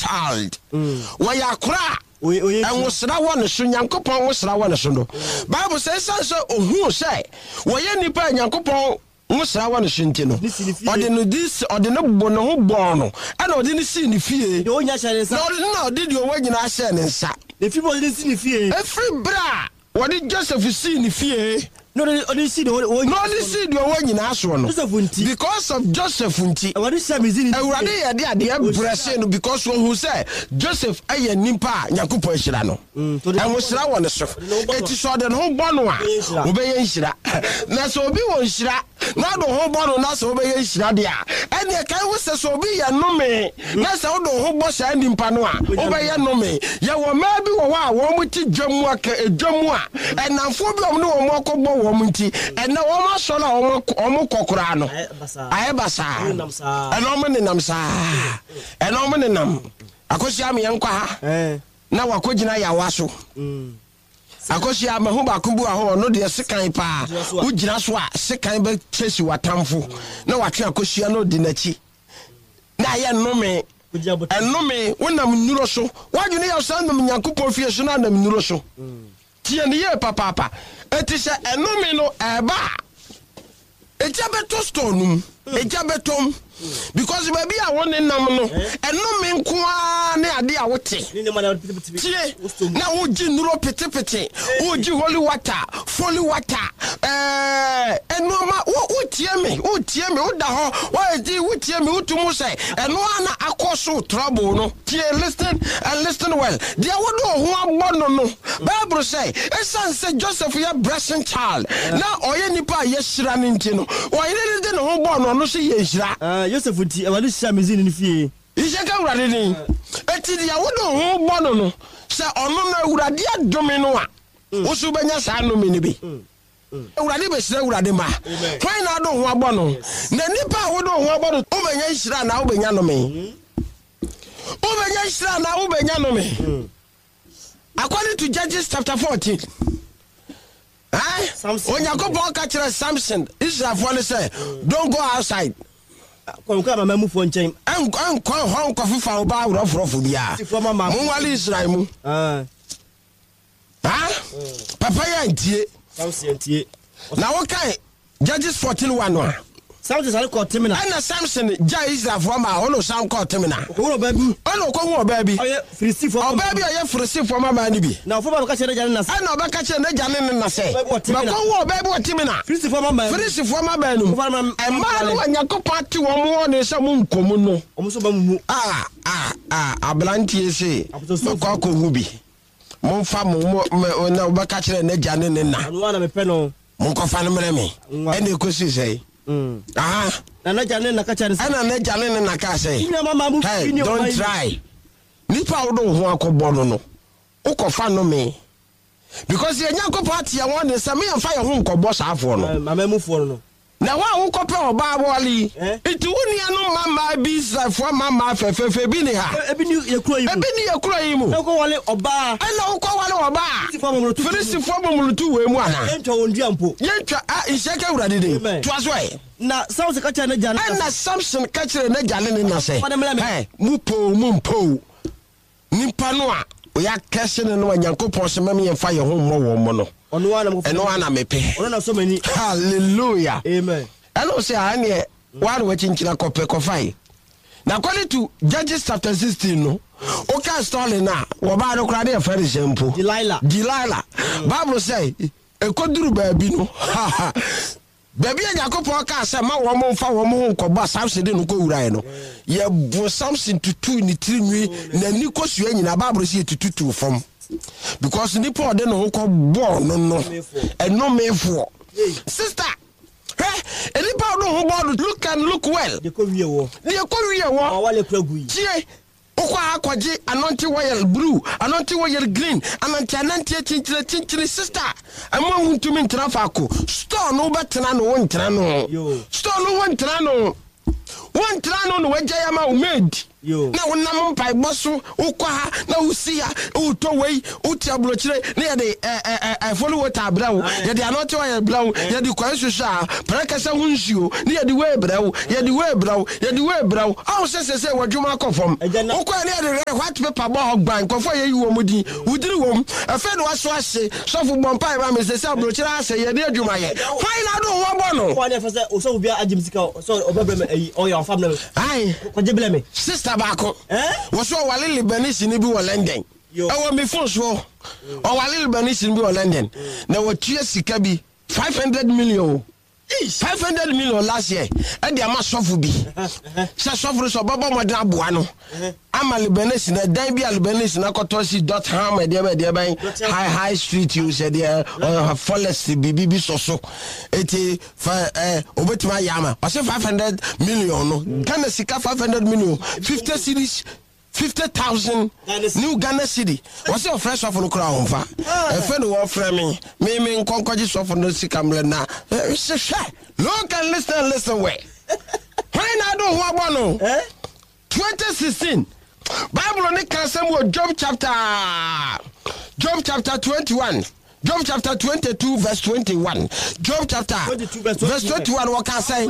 child. Wɔyɛ akora a ɛnwosra wɔ ne so, Nyankopɔn nwosra wɔ ne so no. Bible sɛ ɛsiane sɛ ohuu sɛ wɔyɛ nnipa a Nyankopɔn nwosra wɔ ne so nti no, ɔde no di ɔde ne bo ne ho bɔɔ no, ɛna ɔde no sii ne fie. Na ɔde na ɔde deɛ ɔwɔ nyinaa hyɛɛ ne nsa. Ɛfiri berɛ a Wɔde Joseph sii ne fie. Na ɔde sii deɛ ɔwɔ Na ɔde sii deɛ ɔwɔ nyinaa soɔ no. Joseph nti. Because of Joseph nti. Awurade hyira Misraimni fie. Awurade yɛ de adeɛ brɛ see no because ɔhuu sɛ Joseph yɛ nipa a Nyankopɔn ahyira no. Ɛhohyira wɔ ne so. Eti sɛ ɔde ne ho bɔ no a, ɔbɛyɛ nhyira. Na sɛ obi wɔ nhyira na ɔde wo ho bɔ no na sɛ wobɛyɛ nhyira deɛ a, ɛnneɛ kae ho sɛ sɛ obi yɛ nnome na sɛ wode wo ho bɔ saa nipa no a, wobɛyɛ nnome. Yɛwɔ mmaa bi wɔ hɔ a wɔn te dwa mu aka dwa mu a, nnamfoɔ bi a wɔn ne wɔn akɔbɔ wɔn nti, ɛnnɛ wɔn asɔre a wɔn kɔ koraa no, ayɛ basaa. Ɛnna wɔn nenam saa. Ɛnna wɔn nenam. Akosua meɛnkɔ ha na wakɔgyina yawa so. Akosua, mahu baako bi wɔ hɔ, ɔno deɛ sekan paa. Wogyina so a, sekan bɛkyɛsi w'atamfo na watwe akosua na ɔdi n'akyi. Na ayɛ nnome. Ɛnnome, wonam nnuro so. W'adwene yɛ sɛ nam Nyankopɔn fie so na anam nnuro so. Tie no yie papaapa. Enti sɛ ɛnome no ɛɛba a, Egya bɛtɔ store no mu. Egya bɛtɔ mu. Because baabi a wo ne nam no, ɛnome nko ara ne ade a wote. Tie, na wogye nnuro petepete, wogye holy water, holy water, ɛɛ nneɛma, wo wotie me, wotie me, woda hɔ, woadi, wotie me, wotu mu sɛ ɛno ara na akɔ so trouble no. Tie, listen and listen well. Deɛ wode wo ho abɔ no no, Bible sɛ, esiane sɛ Joseph yɛ blessing child, na ɔyɛ nipa a yɛahyira no nti no, ɔyere no de ne ho bɔɔ no, ɔno nso yɛ nhyira. Ah, Yosef nti, Awurade hyiraa Misraimni no fie. Nhyira nka Awurade din. Enti deɛ wode wo ho bɔ no no, sɛ ɔno no Awurade adome no a, wo nso wobɛnya saa nnome no bi. Awurade bɛhyira Awurade mma. Hwan na wode wo ho abɔ no? Na nipa a wode wo ho abɔ no, wobɛnya nhyira anaa wobɛnya nnome? Wobɛnya nhyira anaa wobɛnya nnome? According to Judges chapter 14, eh? Onyankopɔn ka kyerɛ Samson, Israelfoɔ no sɛ, don't go outside. Kɔnkɔ amanamanmufoɔ nkyɛn. Nkɔ hɔ nkɔfefa ɔbaa worɔforɔfo biara. Monwale Israel mu. Ah. Ha? Papa yi antie. Samson antie. Na wokae Judges 14 1 no a. Samson sane kɔɔ Timna. Ɛna Samson gyae Israelfoɔ maa ɔno san kɔɔ Timna. Ɔkɔhuu ɔbaa bi. Ɛna ɔkɔhuu ɔbaa bi. Ɔyɛ Filistifoɔ Ɔbaa bi a ɔyɛ Filistifoɔ mmabaa no bi. Na ɔforo ba bɛka kyerɛɛ n'agya ne ne na sɛ. Ɛna ɔbɛka kyerɛɛ n'agya ne ne na sɛ. Makɔhu ɔbaa bi wɔ Timna. Filistifoɔ mmabaa mu. Filistifoɔ mmabaa no mu. Mmaa no a Nyankopɔn ate wɔn wɔ ne sɛ monkɔ mu no. Wɔn nso ba mo mu. Ah, ah, ah, aberanteɛ se, makɔ akɔhu bi. Momfa mo, mo, mo, na wobɛka kyerɛ n'agya ne ne na. Ɔno ara na mepɛ no. Monkɔfa no mmerɛ me. Ɛna ɛkɔsii sɛe. Aha. Na n'agya ne ne na ka kyerɛ no sɛ. Ɛna n'agya ne ne na kaa sɛ. Wo nua mama mo Hey, fi ne don't ɔman yi. try. Nipa a wode wo ho akɔbɔ no no, wokɔfa nnome. Because yɛn Nyankopɔn ate yɛn ho den sɛ me yɛmfa yɛn ho nkɔbɔ saafoɔ no. Amammufoɔ no no. Na wo a wokɔpɛ ɔbaa aware yi, nti wo nuanom mmammaa bi, Israelfoɔ mmammaa fɛfɛɛfɛ bi nni ha? Ebi nni yɛn kuro yi mu. Ebi nni yɛn kuro yi mu. Na wokɔware ɔbaa. Ɛnna wokɔware ɔbaa. Filistifoɔ momonoto mu. Filistifoɔ momonoto wei mu anaa? Yɛntwa wɔn dua mpo. Yɛntwa, a, nhyira nka Awurade din. Amen. Toa so ɛ. Na Samson ka kyerɛɛ n'agya ne ne na sɛ. Ɛnna Samson ka kyerɛɛ n'agya ne ne na sɛ, Fa no mmrɛ me. Hɛ, mopɛ oo, mompɛ oo, Nipa no a yɛakɛse no no a Nyankopɔn se mɛm yɛmfa yɛn ho mmɔ wɔn mo no, Ɔno ara na mekɔfa ɛno ara na mepɛ. Ɔno na ɔsɔ m'ani. Hallelujah. Amen. Ɛna ɔse a ɛneɛ woa na wakyinkyina kɔpɛ kɔfae. Na according to Judges chapter 16 no, woka story no a, wɔbaa no koraa ne yɛfrɛ no sɛ mpo. Delilah. Delilah. Bible sɛ, ɛkɔduru baabi no, Baabi a Nyankopɔn kaa sɛ mma wɔn mfa wɔn ho nkɔbɔ a Samson de no kɔwurae no, yɛboo Samson tutuu ne tiri nwi, n'ani kosua nyinaa, Bible sɛ yɛtututuu fam. Because nipa a ɔde ne ho kɔbɔɔ no no, ɛnomefoɔ. Sister, hwɛ, nipa a ɔde ho bɔɔ no, look and look well. Deɛ kɔ wie wɔ. Deɛ kɔ wie wɔ. Tie, Wokɔ a kɔgye anointing oil blue, anointing oil green, anante anante akyinkyini akyinkyini sister ɛmo a wontumi ntena faako store no wobɛtena no wontena no store no wontena no wontena no na wagyae ama wo maid. Na wonam mpaebɔ so wokɔ ha na wosi ha wotɔ wei wote aburokyire na yɛde ɛfɔli wota abrɛ wo yɛde anɔte ɔyɛ brɛ wo yɛde kwan soso a prɛkɛsɛ ho nsuo ne yɛde wei brɛ wo yɛde wei brɛ wo yɛde wei brɛ wo ɔho sɛ sɛ sɛ w'adwuma akɔ fam wokɔ ne yɛde rɛ white paper bɔ hɔ gban nkurɔfoɔ a yɛyi wɔn din wodiri wɔm ɛfɛ na waso ahye sɔfo bɔ mpae ma me sɛ sɛ aburokyire asɛ yɛde adwuma yɛ hwan na ado ho abɔ no. Kɔ ne fɛ sɛ osɔfo bi agye me sika sɛ ɔbɛbrɛ me ayi ɔyɛ ɔfa brɛ me. Ae. Kɔgye brɛ me. Sister baako. Wɔ so ɔwale Lebanese ni bi wɔ London. Ɛwɔ me phone so. Ɔwale Lebanese ni bi wɔ London. Na wɔtua sika bi 500 million o. 500 million last year ɛde ama sɔfo bi. Sɛ sɔfo no sɛ ɔbɛbɔ mmɔden aboa no ama Lebanese na ɛdan bi a Lebanese na akɔtɔ si dot ham ɛdeɛ bɛ ɛdeɛ bɛn high high street yi sɛ deɛ forest biribi bi sɔ so. Eti fa ɛ obetumi ayɛ ama ɔsɛ 500 million no Ghana sika 500 million 50 cedis 50,000 new Ghana cedi wɔsɛ ɔfrɛ sɔfo no koraa ɔmfa ɛfɛ no wɔfrɛ me me me nkɔnkɔgye sɔfo no sika mmerɛ na hwɛ hwɛ look and listen and listen well hwan na ado ho abɔ no 2016 Bible ne ka asɛm wɔ Job chapter Job chapter 21 Job chapter 22 verse 21 Job chapter verse 21 wɔka sɛ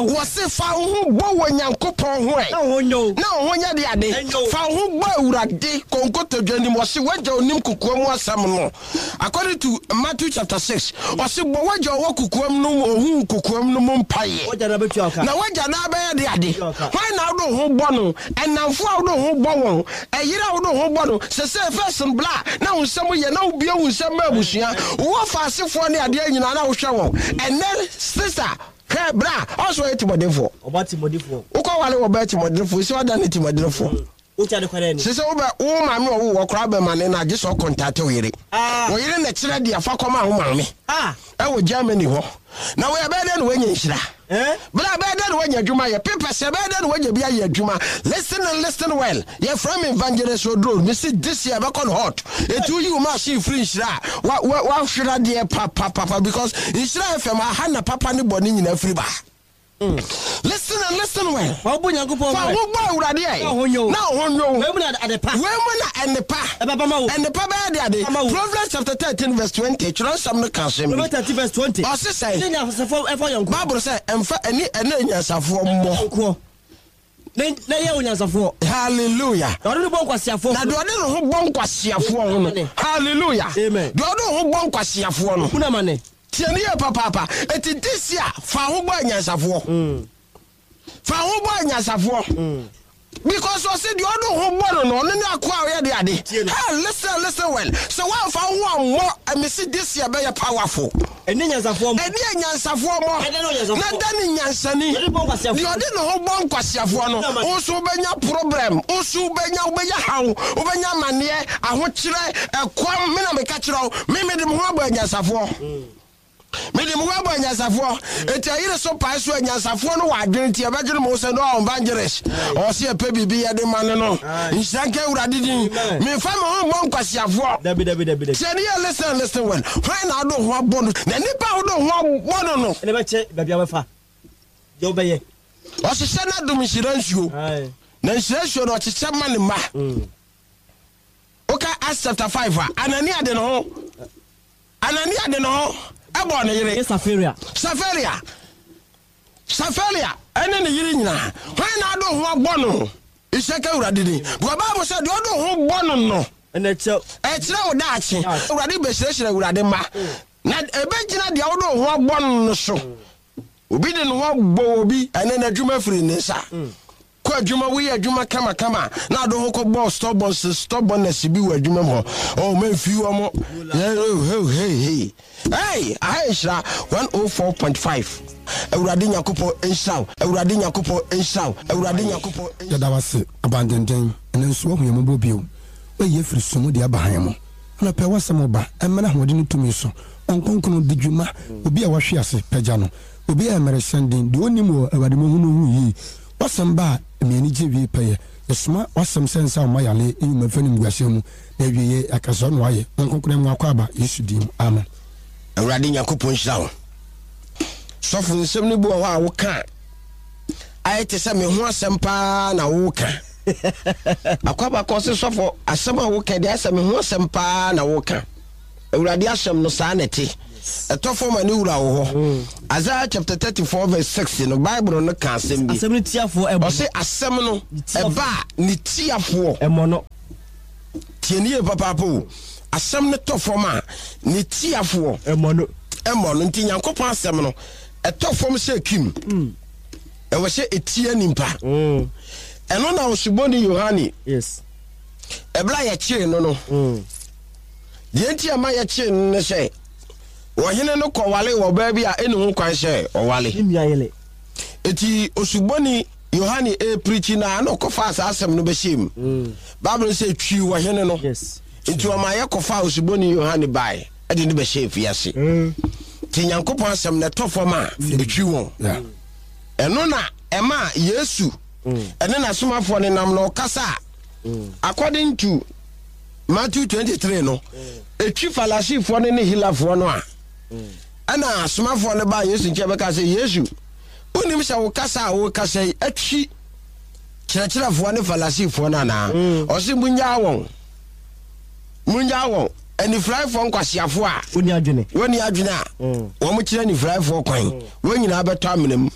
wɔse fa wo ho bɔ wɔ Nyankopɔn ho ɛ na wo ho nyɛ de ade fa wo ho bɔ Awurade konkotodwa nim wɔse wagya onim kokoa mu asɛm no According to Matthew chapter 6, ɔse bɔ w'agya ɔwɔ kokoam no ohuu kokoam no mu mpaeɛ. Na w'agya no abɛyɛ de ade. Hwan na wode wo ho bɔ no? Ɛnamfo a wode wo ho bɔ wɔn? Ɛyere a wode wo ho bɔ no? Sesei first no bla na wo nsam yɛ na wobue wo nsam ma abusua. Wowɔ faasefoɔ ne adeɛ nyinaa na wohwɛ wɔn. Ɛnnɛ sister hwɛ bra ɔsɛ ɔyɛ timɔdenfoɔ. Wokɔ ware wɔ bɛɛ timɔdenfoɔ sɛ ɔda ne timɔdenfoɔ. Sɛ sɛ wobɛ wo maame ɔwo wɔ koraa bɛma ne na gye sɛ ɔkɔntate wo yere. Wo yere na kyerɛ deɛ fa kɔma wo maame ɛwɔ Germany hɔ. Na wei ɛbɛyɛ dɛn na woanya nhyira? Bra ɛbɛyɛ dɛn na woanya adwuma yɛ? Papers ɛbɛyɛ dɛn na woanya bi ayɛ adwuma? Listen and listen well. Yɛfrɛ me Evangelist Oduro. Mese this year ɛbɛkɔ no hot. Enti woyi wo machine firi nhyira a, wa wa wahwere adeɛ papapapa because Nhyira FM aha na papa ne bɔne nyinaa firi ba. Listen and listen well. Fa wo bɔ Nyankopɔn Fa wo bɔ Awurade ɛ. Na wo ho nyɛ wo. Na wo ho nyɛ wo. Wei mu na adepa. Wei mu na ɛnepa. Ɛbɛba ma wo. Ɛnepa bɛyɛ de ade. Ama wo. Proverbs chapter 13 verse 20. Twerɛ nsɛm no ka asɛm bi. Proverbs 13 verse 20. Ɔse sɛn? Ɛne nyansafoɔ ɛfa yɔnkoɔ. Bible sɛ ɛmfa ɛne ɛne anyansafoɔ mmɔ. Yɔnkoɔ. Na na yɛ onyansafoɔ. Hallelujah. Na ɔde ne bɔ nkwaseafoɔ. Na deɛ ɔde ne ho bɔ nkwaseafoɔ ho no. Hallelujah. Amen. Deɛ ɔde ne ho bɔ nkwaseafoɔ no. Hunu amane. Tie no yie papaapa. Eti this year fa ho bɔ anyansafoɔ. Fa ho bɔ anyansafoɔ. Because ɔsi deɛ ɔde ho bɔ no no ɔno ne akoa a ɔyɛ de ade. Hey listen listen well. Sɛ woamfa wo ho ammɔ ɛmesi this year bɛyɛ powerful. Ɛne nyansafoɔ mmɔ. Ɛne anyansafoɔ mmɔ. Na da ne nyansani. Deɛ ɔde ne ho bɔ nkwaseafoɔ no, wo nso wobɛnya problem. Wo nso wobɛnya wobɛnya haw, wobɛnya amaneɛ, ahokyerɛ, ɛkɔm. Me na meka kyerɛ wo, me mede me ho abɔ anyansafoɔ. Mede me ho abɔ anyansafoɔ. Enti ayere so pae so anyansafoɔ no wɔ adwene nti ɛbɛdwene mo ho sɛ no evangelist. Ɔwɔ sɛ yɛpɛ biribi yɛde ma no no. Nhyira nka Awurade din. Memfa me ho mmɔ nkwaseafoɔ. Dabi dabi dabi dabi. Tie ne yɛ listen listen well. Hwan na wode wo ho abɔ no? Na nipa a wode wo ho abɔ no no. Ɛna bɛkyɛ baabi a wobɛfa. Deɛ wobɛyɛ. Ɔhyehyɛ n'adom nhyira nsuo. Na nhyira nsuo no ɔkyekyɛ ma ne mma. Woka Acts chapter 5 a, Anania de ne ho Anania de ne ho bɔɔ ne yere. Ne Safiria. Safiria. Safiria ne ne yere nyinaa. Hwan na ade ho abɔ no? Nhyira ka Awurade din. Because Bible sɛ deɛ ɔde ho bɔ no no. Ɛna ɛkyerɛ. Ɛkyerɛ wo daakye. Awurade bɛhyirahyira Awurade mma. Na ɛbɛgyina deɛ wode ho abɔ no no so. Obi de ne ho abɔ obi, ɛnɛ n'adwuma firi ne nsa. Kɔ adwuma, woyɛ adwuma kamakama na ade ho kɔbɔ stubbornness stubbornness bi wɔ adwuma mu hɔ. Oh, memfi wɔn. Hey, hey, hey, aha yɛ nhyira 104.5. Awurade Nyankopɔn nhyira wo. Awurade Nyankopɔn nhyira wo. Awurade Nyankopɔn. Yɛda wo ase, Abandenden, ɛnnɛ nso woahu yɛn mmɔbɔ bio. Woayi yɛn afiri sum mu de aba hann mu. Anɔpa yi w'asɛm reba, ɛmmra ahoɔden ne tumi so. Honhom Kronkron, di dwuma. Obi a wahwe ase, pagya no. Obi a mmerehyɛn den, deɛ ɔnnim wɔ Awurade mu ɔhu no hu yie. W'asɛm ba a, ɛma yɛn ani gye wie pɛyɛ. Yɛsoma w'asɛm sɛ nsa mma yareɛ, nyi mma mfa animguaseɛ mu, na awieɛ yɛaka sɛ ɔno ayɛ. Honhom Kronkron yɛma wo akwaaba, Yesu din mu, amen. Awurade Nyankopɔn nhyira wo. Sɔfo nsɛm no bi wɔ hɔ a woka a ayɛ te sɛ me ho asɛm paa na woka. Akwaba kɔ se sɔfo asɛm a woka deɛ asɛ me ho asɛm paa na woka. Awurade asɛm no saa na ɛte. Ɛtɔ fam a ne wura wɔ hɔ. Mm. Isaiah chapter 34 verse 6 no Bible no ka asɛm bi. Asɛm no tiafoɔ ɛbɔ. Ɔse asɛm no ɛba a ne tiafoɔ. Ɛmɔ no. Tie ne yie papaapa o. Asɛm no tɔ fam a ne tiafoɔ. Ɛmɔ no. Ɛmɔ no nti Nyankopɔn asɛm no ɛtɔ fam sɛ kim. Mm. Ɛwɔ sɛ ɛtia nimpa. Mm. Ɛno na Osuboni Yohane. Yes. Ɛberɛ a yɛkyee no no. Mm. Deɛ nti a ɛma yɛkyee no ne sɛ, ɔhene no kɔwaree ɔbaa bi a ɛnni ho kwan sɛ ɔware. Ne nua yere. Enti Osuboni Yohane repirikyi no a, na ɔkɔfaa saa asɛm no bɛhyɛɛ mu. Mm. Bible no sɛ twiw ɔhene no. Yes. Enti ɔma yɛkɔfaa Osuboni Yohane bae de no bɛhyɛɛ afiase. Mm. Nti Nyankopɔn asɛm no ɛtɔ fam a, ɛtwi wɔn. Yeah. Ɛno na ɛma Yesu mm. ɛne n'asomafoɔ no nam na ɔkasa a, according to Matthew 23 no, ɛtwi Farisifoɔ no ne Helafoɔ no a, ɛna asomafoɔ no baa Yesu nkyɛn bɛka sɛ, Yesu, wonim sɛ wo kasa a wokasa yi atwi kyerɛkyerɛfoɔ ne Farisifoɔ no anaa? Mm. Ɔse, munyaa wɔn. Munyaa wɔn. Anifuraefoɔ nkwaseafoɔ a wɔnni adwene, wɔnni adwene a mm. wɔn kyerɛ anifuraefoɔ kwan, mm. wɔn nyinaa bɛtɔ amena mu.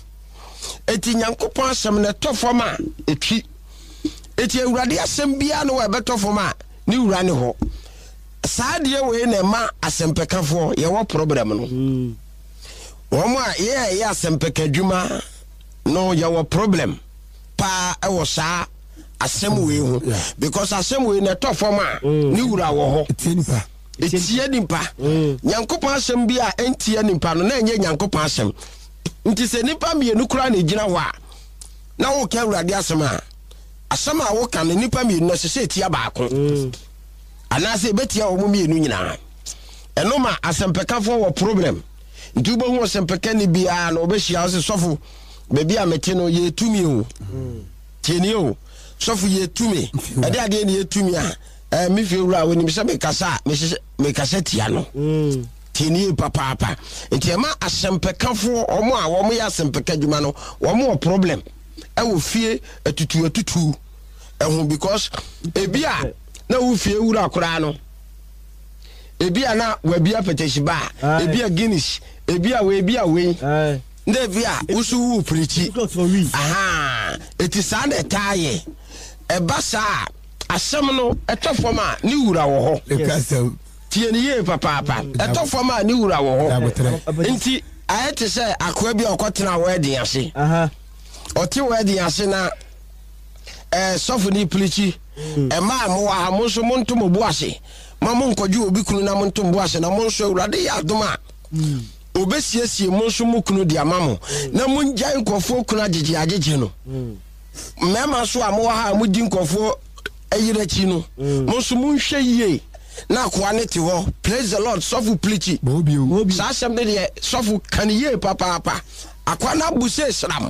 Eti Nyankopɔn asɛm no ɛtɔ fam a ɛtwi. Eti Awurade asɛm biara ne wɔ ɛbɛtɔ fam a ne wura ne hɔ. Saa adeɛ wei na ɛma asɛmpɛkafoɔ yɛwɔ problem no. Mm. Wɔn a yɛ ɛyɛ asɛmpɛka adwuma no yɛwɔ problem paa ɛwɔ saa asɛm wei ho because asɛm wei na ɛtɔ fam a mm. ne wura wɔ hɔ. Etie nipa. Mm. Nyankopɔn asɛm bi a ɛntie nipa no na ɛnyɛ Nyankopɔn asɛm. Nti sɛ nipa mmienu koraa na egyina hɔ a na woka Awurade asɛm a, asɛm a woka no nnipa mmienu no ɛsɛ sɛ ɛtia baako mm. anaasɛ ɛbɛtia wɔn mmienu nyinaa. Ɛno ma asɛmpɛkafoɔ wɔ problem. Nti wobɛhu ɔsɛmpɛkani biara na ɔbɛhyia wo sɛ sɔfo baabi a mete no yɛtumi o. Mm. Tienie o. Sɔfo yɛtumi. Ɛde adeɛ ne yɛtumi a eh, me fie wura wɔnim sɛ mekasa a mekasa tia no. Mm. Tie no yie papaapa. Nti ɛma asɛmpɛkafoɔ, wɔn a wɔn yɛ asɛmpɛka adwuma no, wɔn wɔ problem ɛwɔ fie atutu atutu ɛho because ebi a na wo fie wura koraa no, ebi a na wabi apɛtɛsi ba, ebi a Guinness, ebi a wei, ebi a wei, na ebi a woso wu pirikyi. Aha, eti saa na ɛtaa yɛ. Ɛba saa asɛm no ɛtɔ fam a ne wura wɔ hɔ. Tie no yie papaapa. Ɛtɔ fam a ne wura wɔ hɔ. Nti ayɛ te sɛ akoa bi a ɔkɔtena wɛɛden ase. Ɔte wɛɛden ase na ɛɛ sɔfo ne pirikyi. Ɛmaa mo wɔ ha mo nso monto mo bo ase. Ma mo nkɔgye obi kunu na monto mo bo ase na mo nso Awurade yɛ adom a obesiesie mo nso mo kunu de ama mo. Na mongyae nkurɔfoɔ kunu agyegye agyegye no. Mmarima nso a mowɔ ha a modi nkurɔfoɔ yere akyi no, mm. mo nso monhwɛ yie na akoa ne te hɔ. Praise the Lord, sɔfo pirikyi. Saa asɛm no deɛ sɔfo ka no yie papaapa. Akoa no abu sɛ sram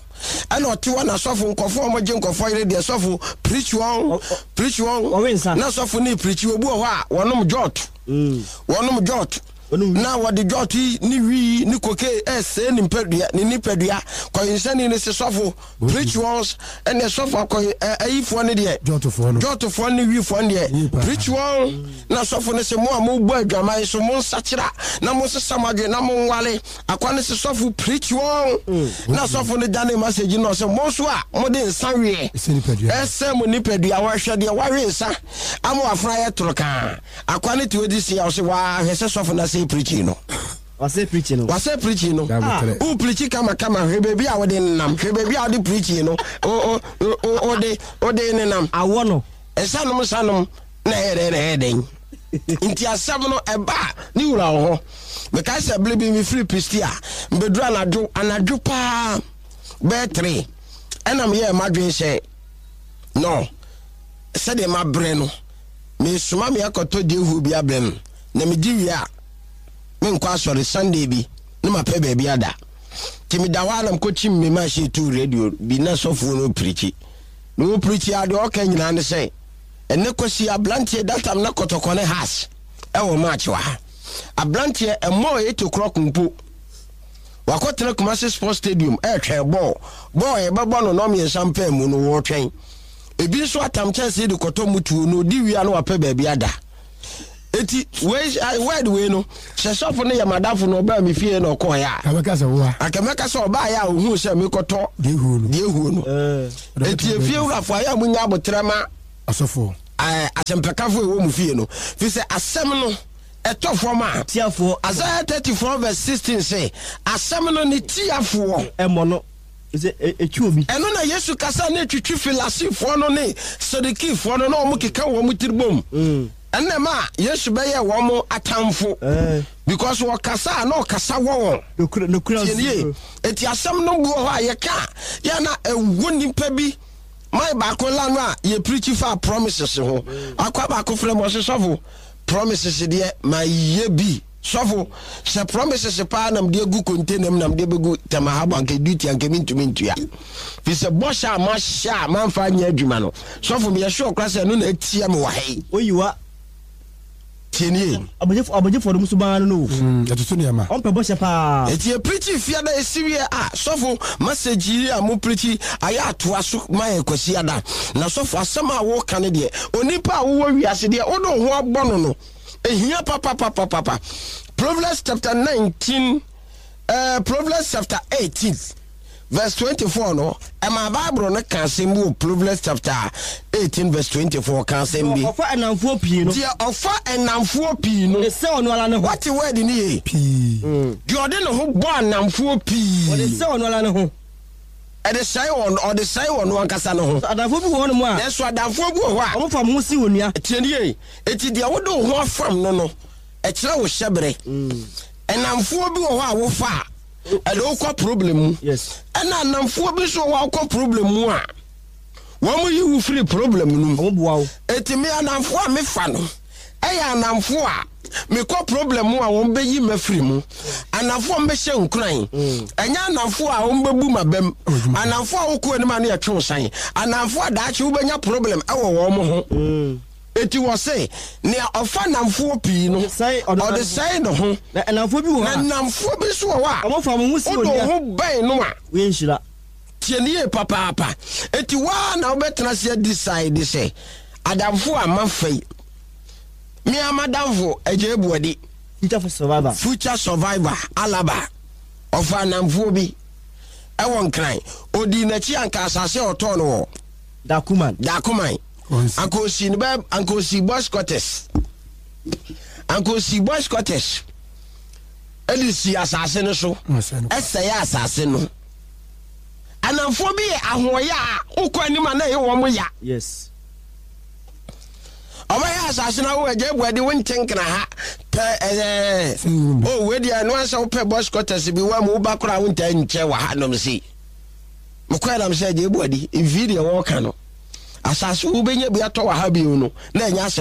ɛna ɔte hɔ na sɔfo nkɔfoɔ a wɔgye nkɔfoɔ yere deɛ sɔfo pirikyi wɔn pirikyi wɔn na sɔfo ne pirikyi obi wɔ hɔ a wɔnom jɔt mm. wɔnom jɔt na wɔde jɔt yi ne wii ne koke ɛsɛe ne nipadua ne nipadua kɔyensani ne se sɔfo Preach ones ɛnna sɔfo akɔ ayifoɔ no deɛ jɔtofoɔ no jɔtofoɔ ne wifoɔ no deɛ preach wɔn na sɔfo no sɛ mo a mobɔ adwaman so mo nsakyera na mo nsesa mo adwene na mo nwale akwa no sɛ sɔfo preach wɔn mm. na sɔfo no dane message no sɛ mo nso a mode nsa weɛ ɛsɛ mo nipadua wɔhwɛ deɛ wawe nsa ama wafena yɛ toro kaa akwa no te ɔdi si a ɔsɛ wahwɛ sɛ sɔfo no asɛ preaching no Wasɛ preaching no. Wasɛ preaching no. Wo preachi kama kama hwɛ baabi a wode nenam hwɛ baabi a wode preaching no wode wode nenam. Awɔ no. Nsa nom nsa nom na ɛyɛ dɛn na ɛyɛ dɛn. Nti asɛm no ɛba a ne wura wɔ hɔ. Mekae sɛ bere bi mefiri Pistia mbɛduru anadwo anadwo paa bɛyɛ tere ɛna meyɛɛ m'adwene sɛ no sɛdeɛ mabrɛ no mesoma me akɔtɔ gyehuo bi abrɛ no na megye wie a menkɔ asɔre Sunday bi na mapɛ baabi ada. Nti meda hɔ a na mekɔkyim me machine too radio bi na sɔfoɔ no pirikyi. Na ɔpirikyi a deɛ ɔka nyinaa ne sɛ ɛnɛ kwasi abranteɛ that time na kɔtɔkɔ ne has ɛwɔ match wɔ ha. Abranteɛ ɛmmɔɔ 8 o'clock mpo wakɔtena Kumasi Sports Stadium ɛretwɛn bɔɔl. Bɔɔl yɛbɛbɔ no nnɔmmiɛnsa mpaa mu no wɔretwɛn. Ebi nso atam kyɛnsee de kɔtɔ mutuo na ɔdi wie a na wapɛ baabi ada. Eti wei word wei no sɛ sɔfo no yɛ madamfo na ɔbaa me fie na ɔkɔɔeɛ a. Kabɛka sɛ woa. Anka mɛka sɛ ɔbaeɛ a ohuu sɛ mekɔtɔ deɛ ehuo no. Deɛ ehuo no. Eti efie wurafo ayɛ a munya abotrɛ ma. Asɔfoɔ. Ɛɛ asɛmpakafo ɛwɔ mu fie no fi sɛ asɛm no ɛtɔ fam a. Tiafoɔ. Isaiah 34 verse 16 sɛ asɛm no ne tiafoɔ. Ɛmmɔ no. Sɛ ɛtwi obi. Ɛno na Yesu kasa na ɛtwitwi Filasifoɔ no ne Sadukifoɔ no na wɔn keka wɔn tiri bom. Ɛnna ɛma Yesu bɛyɛ wɔn atamfo because wɔkasa a na ɔkasa wɔ wɔn. Tie nie, eti asɛm no bi wɔ hɔ a yɛka a yɛ na ɛwɔ nipa bi man baako la no a yɛ preachi fa promises ho. Akwa baako frɛ mu ɔse sɔfo promises deɛ ma yɛ bi. Sɔfo, sɛ promises paa na mede agu container mu na mede bɛgu Tema Harbour anka duty anka mentumi ntua. Fi sɛ bɔhyɛ a mahyɛ a mamfa anyɛ adwuma no, sɔfo meyɛ sure koraa sɛ ɛno na atia me wɔ ha yi. Oyiwa. Tie nie. Abɔgyefoɔ no suban no no o. Ɛtoto nneɛma. Ɔmpɛ bɔhyɛ paa. Eti yɛ preachi fiada esi wie a, sɔfo message yi a mo preachi ayɛ atoa so ma yɛ Kwasiada. Na sɔfo asɛm a woka no deɛ, onipa a wowɔ wiase deɛ wode wo ho abɔ no no, Ehia papapapapa. Proverbs chapter 19, uh, Proverbs chapter 18, verse 24 no, ɛma Bible no ka asɛm bi wɔ Proverbs chapter 18 verse 24 ka asɛm bi. Ɔfa ɛnamfoɔ pii no. Deɛ ɔfa ɛnamfoɔ pii no. Ɔde sɛ ɔno ara ne ho. Wate word no yie? Pii. Deɛ ɔde ne ho bɔ anamfoɔ pii. Ɔde sɛ ɔno ara ne ho. Ɛde sɛe wɔn, ɔde sɛe ɔno ankasa ne ho. Adamfoɔ bi wɔ hɔnom a. Nanso adamfoɔ bi wɔ hɔ a. Wɔfa wɔn ho si onua. Tie no yie. Enti deɛ wode wo ho afam no no, ɛkyerɛ wo hyɛberɛ. Nnamfoɔ bi wɔ hɔ a wofa a, ɛde wo kɔ problem mu. Ɛna nnamfoɔ bi nso wɔ hɔ a wokɔ problem mu a, wɔn yi wo firi problem no mu. Enti me anamfoɔ a mefa no, ɛyɛ anamfoɔ a mekɔ problem mu a wɔn bɛyi mafiri mu. Anamfoɔ a wɔbɛhyɛ nkuran. Ɛnyɛ anamfoɔ a wɔn bɛbu m'abam. Anamfoɔ a wokɔ anim a ne yɛtwe wo san. Anamfoɔ a daakye wobɛnya problem ɛwɔ wɔn ho. Enti wɔse, Nea ɔfa nnamfoɔ pii no, ɔde sɛe ne ho. Na nnamfoɔ bi wɔ hɔ a. Na nnamfoɔ bi nso wɔ hɔ a. Wɔfa wɔn ho si Wode wo onua. ho bɛn no a. Woyɛ nhyira. Tie no yie papaapa. Enti wo ara na wobɛtena ase adecide sɛ, Adamfo a mafa yi, me ara m'adamfo Agyei Boadi. Future survivor. Future survivor, Alaba. Ɔfaa nnamfoɔ bi wɔ Nkran. Ɔdii n'akyi anka asase a ɔtɔɔ no wɔ. Dakuman. Dakuman. Anka osii no bɛ anka osii boys quarters. Anka osii boys quarters. Ɛde sii asase no so. Ɛsɛe asase no. Anamfoɔ bi yɛ ahoɔyɛ a wokɔ anim a na ɛyɛ wɔn ya. Yes. Ɔbɛyɛ asase no awo agya ebu adi wo nte nkena ha pɛ ɛɛ o wei deɛ ɛno ansɛ wopɛ boys quarters bi wa mu woba koraa wontaa nkyɛ wɔ ha nom sei. Mekɔɛ nam sɛ agya ebu adi mfii deɛ wɔreka no. Asase wobɛnya bi atɔ wɔ ha bio no na ɛnyɛ asɛm.